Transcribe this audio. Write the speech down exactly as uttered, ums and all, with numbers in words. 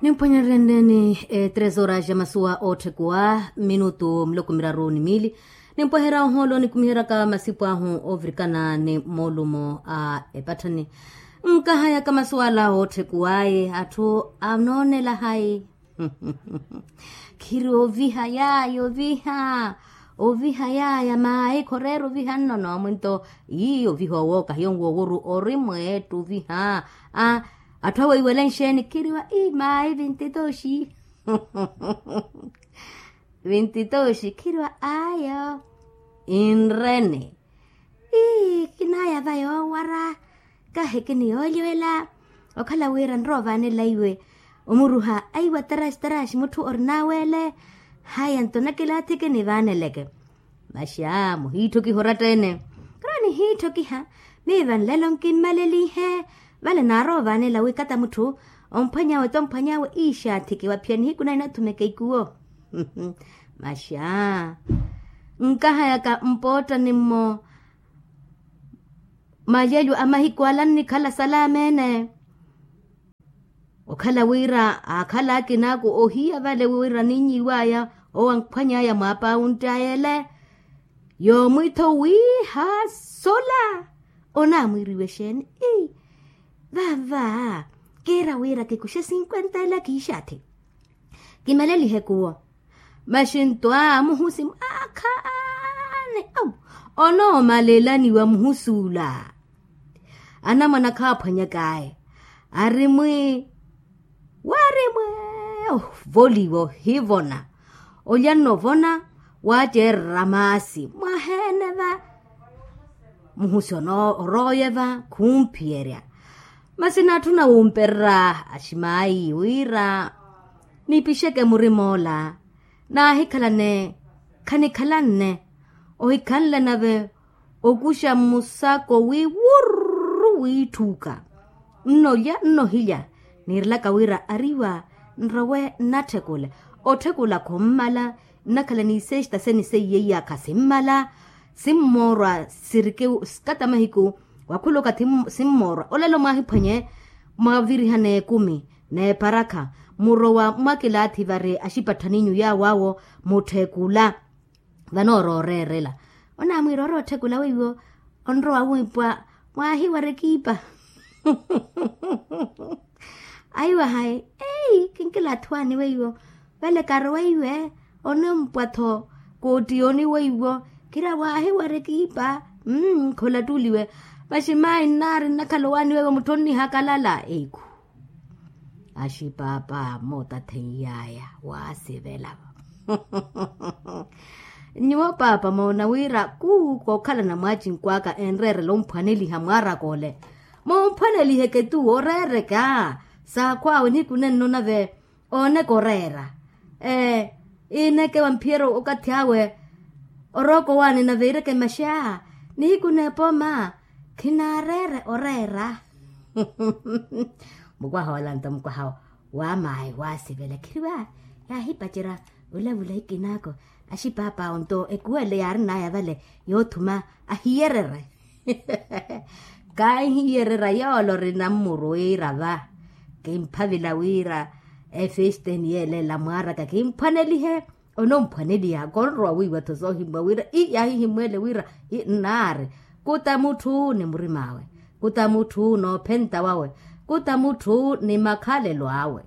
Nimphwanyereryeni, eh, tres horas ya masuwa ootthekuwa minutu miloko miraru ni miili. Nimpweherya ohoolo nikumiheryaka masipu ahu oovirikana ni moolumo a epatthani. Nkahayaka masuwala ootthekuwaye atthu anoonela hayi. Khiri oviha yaaya oviha. Oviha yaaya maayi khoreera oviha nnono mwinto. Ii oviha owo kahiyo nwoowuru ori mweettu oviha. A atthu aweiwele nxeeni khiriwa ii maayi vintitoxi. Vintitoxi khiriwa ayo. Inrene. Ii kinaaya va yoowara. Kahi kiniyoolyoela. Okhala wira nroovanela iwe omuruha aiwa taraxi taraxi mutthu orinaweele. Haya nto nakilaathi kinivaaneleke. Maxaa muhiitthokiha oratta-ene. Kara nihiitthokiha. Miiva nlelo nkimmalelinhe. Vale naaroovanela wi kata mutthu omphwanyawe tomphwanyawe iixaathiki waphiya nihiku nayi nathumeke ikuwo. Maxaa. Nkahayaka mpoottani-mmo. Malelyo a mahiku ala nnikhala salaama-ene. Okhala wira aakhala akinaaku ohiya vale wira ninyiwaya owo ankhwanyaya mwaapawunttayele. Yoomwitho wiiha sola. Onaamwiiriwe exeeni? Ii. Vava kiira wira kikuxe sinkwenta ela kiixaathi. Kimalelihe kuwo. Maxinto a muhusi mwaakhaani. Onoomalelaniwa muhusuula. Anamwane akhaaphwanyakaaye. Ari mwi wari mwe. Ovoliwa ohivona. Olya nnovona. Waacerera maasi mwaheene va. Muhusi onooye va khumphiyerya. Masi natthuna wumpererya aximaayi wira nipixeke murim'ola. Naahikhalane khanikhalanne. Ohikhanle nave okuxa musako wi wurru wiitthuuka. Nnolya nnohilya. Niirelaka wira ariwa nrowe nnatthekule. Otthekula khummala. Nnakhala ni isexta seni seiye iyakha simmala. Simmoorwa sirike. Kata mahiku wakhula okathi simmoorwa olelo mwaahiphwanye. Mwavirihana ekumi n'eparakha. Murowa mwakilaathi vari axipatthani inyu yaawo awo. Mutthekula. Vanoora oreerela. Onaamwiira ori otthekula weiwo. Onrowa wiipwa mwaahiwara ekiipa. Aiwa hayi. Ei kinkilaathuwaani weiwo. Vale karowa iwe. Onompwa-tho koottiyoni weiwo. Khira waahiwara ekiipa. Mmm kholattuliwe. Maxi maayi nnaari nnakhala owaani weiwo mutthu onnihakalala eikhu. Axipaapaamo tatheiyaya waasivela. Nyuwo paapa moona wira kuuku okhalana mwaacinkw'aka enreerela omphwaneliha mwaaraka ole. Mumphwaneliheke tuwo oreereka. Saakhw'awe nihiku nenno nave ooneka oreera. Ee iineke wamphiyerya okathi awe. Orooka owaani nave iireke maxaa. Nihiku n'epooma. Khinaareere oreera. Mukwaha ola nto mukwaha wa maayi waasivela khiriwa. Yaahipacerya olavula ikinaako. Axipaapawo nto ekuwele yaarin'aya vale yoothuma ahiyererye. Kaahiyererya yoole orina mmuru wiira va. Kimphavila wira efesteni yeele ela mwaaraka kimphwanelihe. Onomphwaneliha konrowa wiiwa-tho soohimmwa wira ii yaahihimmwele wira. Nnaari kuta mutthu ni murim'awe. Kuta mutthu n'ophenta wawe. Kuta mutthu ni makhalelo awe.